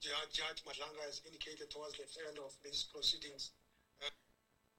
Judge Madlanga has indicated towards the end of these proceedings.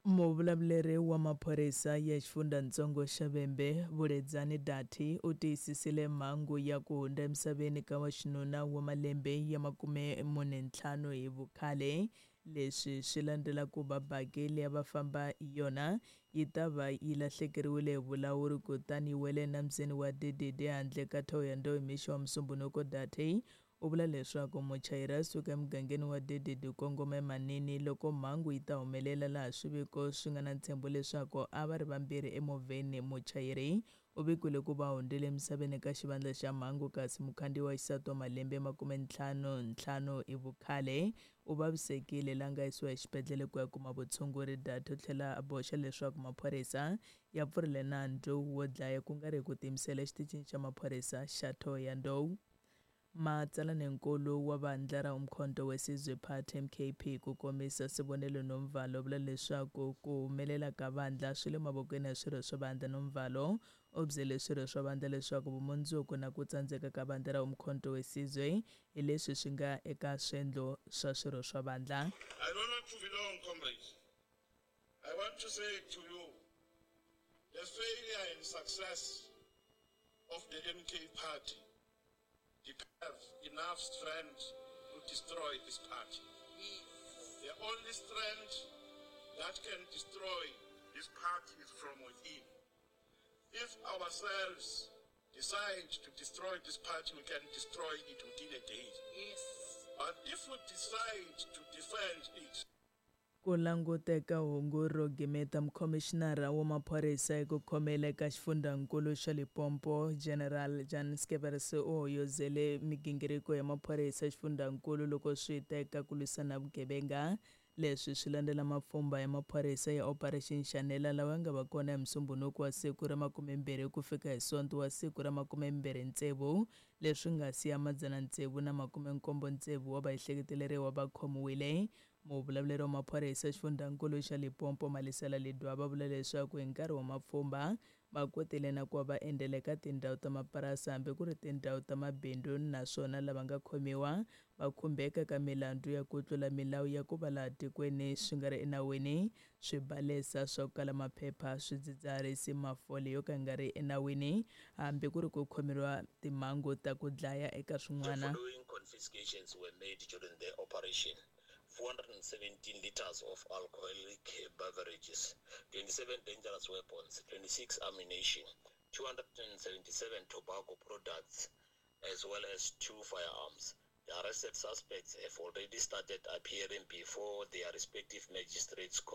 Muvulavuleri wa maphorisa ya xifundzhantsongo xa Vhembe, Vuledzani Dathi, u tiyisisile mhangu ya ku hundza emisaveni ka wa xinuna wa malembe ya 45 hi vukhale. Leswi swi landzela ku va baki leyi a va famba hi yona yi ta va yi lahlekeriwile hi vulawuri kutani yi wele enambyeni wa DDD handle ka Thohoyandou hi mixo wa Musumbhunuko. Dathi u vula leswaku muchayeri a suka emugangeni wa Dededi kongoma eManini loko mhangu yi ta humelela laha swiviko swi nga na ntshembo leswaku a va ri vambirhi emovheni. Muchayeri u vikiwile ku va hundzile emisaveni ka xivandla xa mhangu kasi mukhandziyi wa xisati wa malembe 55 hi vukhale u vavisekile la nga yisiwa exibedhlele ku ya kuma vutshunguri. Data u tlhela a boxa leswaku maphorisa ya pfurile nandzu wo dlaya ku nga ri hi ku tiyimisela exitichini xa maphorisa xa Thohoyandou. Matsalaninkulu wa vandla ra Umkhonto weSizwe Party MKP ku komisa Sibonelo Nomvalo vula leswaku ku humelela ka vandla swi le mavokweni ya swirho swa vandla. Nomvalo u byele swirho swa vandla leswaku vumundzuku na ku tsandzeka ka vandla ra Umkhonto weSizwe hi leswi swi nga eka swendlo swa swirho swa vandla. I don't want to be long, comrades. I want to say to you, the failure and success of the MK party have enough strength to destroy this party. The only strength that can destroy this party is from within. If ourselves decide to destroy this party, we can destroy it within a day. But if we decide to defend it, Ku languteka hungu ro gimeta mukhomishinara wa maphorisa eku khomela eka xifundzankulu xa Limpopo General Jan Skeppers u hoyozele migingiriko ya maphorisa xifundzankulu loko swi ta eka ku lwisana na vugevenga. Leswi swi landzela mapfhumba ya maphorisa ya Operation Shanela lawa ya nga va kona hi Musumbhunuku wa siku ra 20 ku fika hi Sonto wa siku ra 26 leswi nga siya 676 wa vaehleketeleriwa va khomiwile. Muvulavuleri wa maphorisa xifundzankulu xa Limpopo Malisela Ledwaba vula leswaku hi nkarhi wa mapfhumba va kotile na ku va va endzela eka tindhawu ta mapurasi hambi ku ri tindhawu ta mabindzu naswona lava nga khomiwa va khumbeka ka milandzu ya ku tlula milawu ya ku va laha tikweni swi nga ri enawini, swibalesa swa ku kala maphepha, swidzidziharisi, mafole yo ka ya nga ri enawini hambi ku ri ku khomeriwa timhangu ta ku dlaya eka The swin'wana. following confiscations were made during the operation: 417 liters of alcoholic beverages, 27 dangerous weapons, 26 ammunition, 277 tobacco products, as well as 2 firearms. The arrested suspects have already started appearing before their respective magistrates' courts.